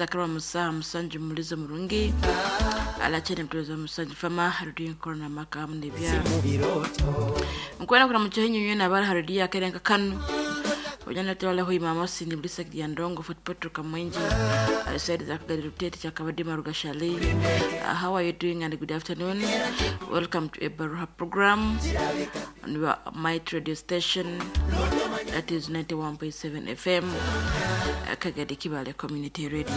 Zakarwa musaha musanju mulizo murungi alachene mtuweza musanju fama harudi nkorona maka hamne bya nkwena kuna mchohenyu nywe abara harudi ya kerenka kanu ojana tewala hui mama sini blisa ya ndongo Fort Portal Kamwenji side za Kagadi Rutete cha Kabadi Maruga Shali. How are you doing and good afternoon. Welcome to Ebaruha program on your Might radio station, that is 91.7 FM, Kagadi Kibale Community Radio.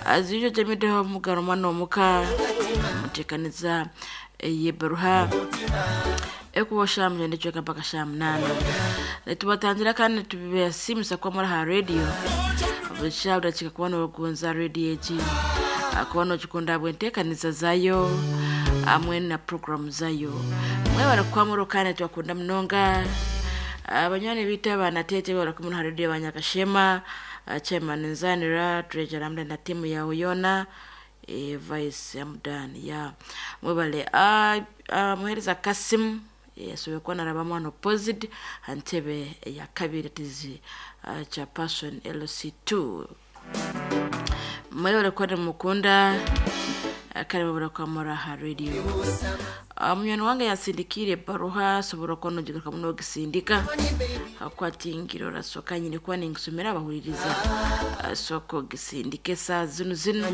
As usual, jamideho mugarumano muka mutekaniza yebaruha ekuba sha mugende cweka mpaka sha munana netubatangira kandi tubibasimisa kuba muri ha radio busha budakika kuba nogunza radio egi kuba nokikunda bwentekaniza zayo hamwe na program zayo mwebare kuba kandi tubakunda munonga. Abanywani bitu abanatete barakumwe ha radio abanyakashema, chairman Nzanira treasurer amda na timu yawe yona, vice Amdan ya mwebale, muhereza Kasim yasoboye kuba naraba mwana opposite antebe ya kabiri tizi cha person LC2 mwebale kuba mukunda kare mwebale kuba muri aha radio. Munywani wange yansindikire baruha asobora kuba nogigaruka muno gisindika akwatingiro rasoka nyine kuba ningisomera abahuririza soko gisindike saa zino zino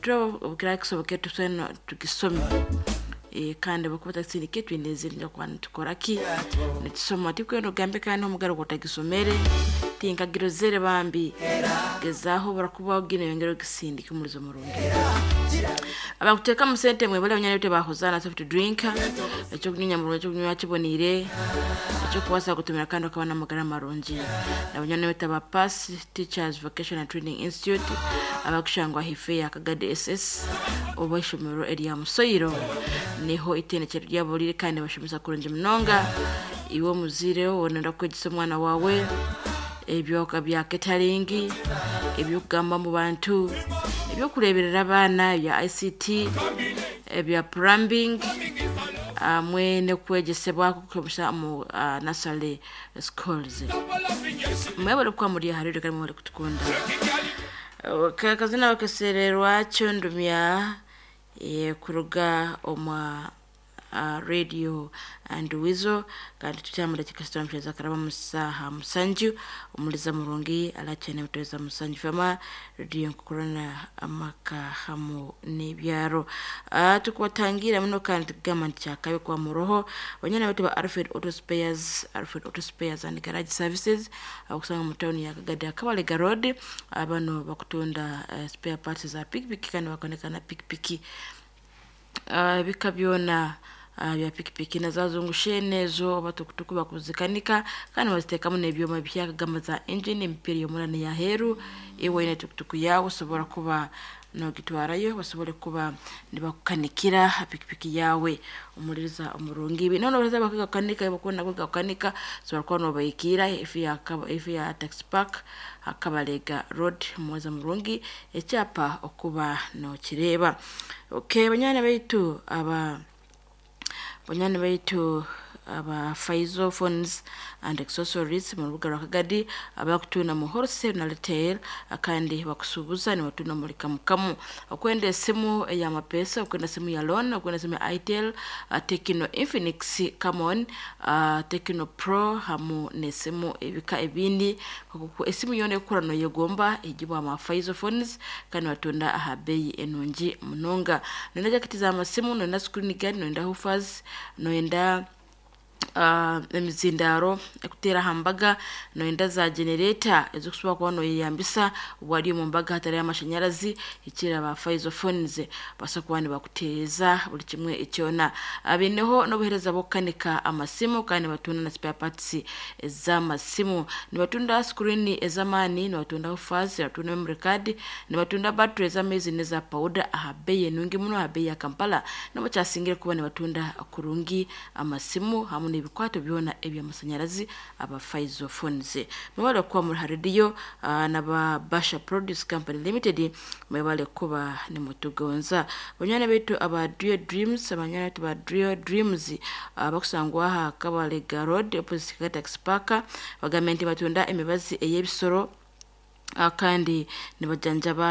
turababwira kisoboke tusene tugisome. Kandi bakuba tagisindike twineze nja kuba nitukora ki nitusoma tikwenda ogambe kandi omugaro gutagisomere tinkagirozere bambi gezaho barakuba ogine yongera ogisindike umurizo murungi abakuteka musente mwe bale abanyana bite bahozana soft drink ekyo kunywa mu ekyo kunywa kibonire ekyo kubasa gutumira kandi ukabona amagara marungi abanyana bite ba Pass Teachers Vocational Training Institute abakushangwa hife ya Kagadi SS oba ishomero erya Musoyiro niho itenekero ryabo riri kandi bashomesa kurungi munonga iwe muzire wonenda kwegesa omwana wawe ebyoka bya catering ebyokugamba mu bantu ebyokureberera abaana bya ICT ebya plumbing hamwe n'okwegesebwa kukozesa mu nursery schools. Mwebale kuba muri aha rero kandi mwebale kutukunda. Kazina bakesererwa kyondumya kuruga omwa radio and wizo kandi tutyamura kikasitwa mcheza karaba musaha musanju omuliza murungi alachene mutweza musanju fama radio nkukurana amaka hamu n'ebyaro. Tukubatangira muno kandi tugamba nti kyakabi kwa muroho banyana batu ba Alfred Auto Spares, Alfred Auto Spares and Garage Services akusanga mu town ya Kagadi Akabalega Road. Abano bakutunda spare parts za pikipiki kandi bakonekana pikipiki bika byona bya pikipiki nazazungushe nezo batukutuku bakuzikanika kandi bazitekamu n'ebyoma byakagamba za engine emipira y'omurani ya heru iwe ine tukutuku yawe osobora kuba nogitwarayo basobole kuba nibakukanikira pikipiki yawe omuliriza omurungi ibi nono bareza bakagakanika bakubona kwegakanika sobola kuba nobayikira ifi ya taxi park Akabalega Road muweza murungi ekyapa okuba nokireba. Okay, banyana baitu aba banyana baitu aba Faizo Phones and Accessories mu rubuga rwa Kagadi abakutuna mu wholesale na retail kandi bakusubuza ni batuna muri kamukamu okwenda esimu ya mapesa okwenda simu ya loan okwenda simu ya Itel, Tecno Infinix Camon, Tecno Pro hamu nesimu ebika ebindi esimu yona ekurano yegomba ejibwa ama Faizo Phones kandi batunda aha bei enungi munonga nenda jaketi za masimu nenda screen guard nenda hoofers nenda emizindaro ekutera hambaga noenda za generator ezokusobola kuba noyeyambisa wali omu mbaga hatari amashanyarazi ekira ba Faizo Phones basobola kuba nibakuteereza buli kimwe ekyona abineho n'obuhereza bw'okukanika amasimu kandi nibatunda na spare parts ez'amasimu nibatunda screen ez'amaani nibatunda hoofers nibatunda memory card nibatunda battery ez'amaizi n'eza powder aha bei enungi muno aha bei ya Kampala nabo kyasingire kuba nibatunda kurungi amasimu hamwe n'ebikwato byona ebyamasanyarazi aba Faizo Phones. Mwebale kuba muri radio naba Basha Produce Company Limited mwebale kuba nimutugonza banyana baitu aba Drio Dreams abanyana baitu ba Drio Dreams bakusangwa aha Kabalega Road opposite Taxi Park bagamenti batunda emibazi ey'ebisoro kandi nibajanjaba.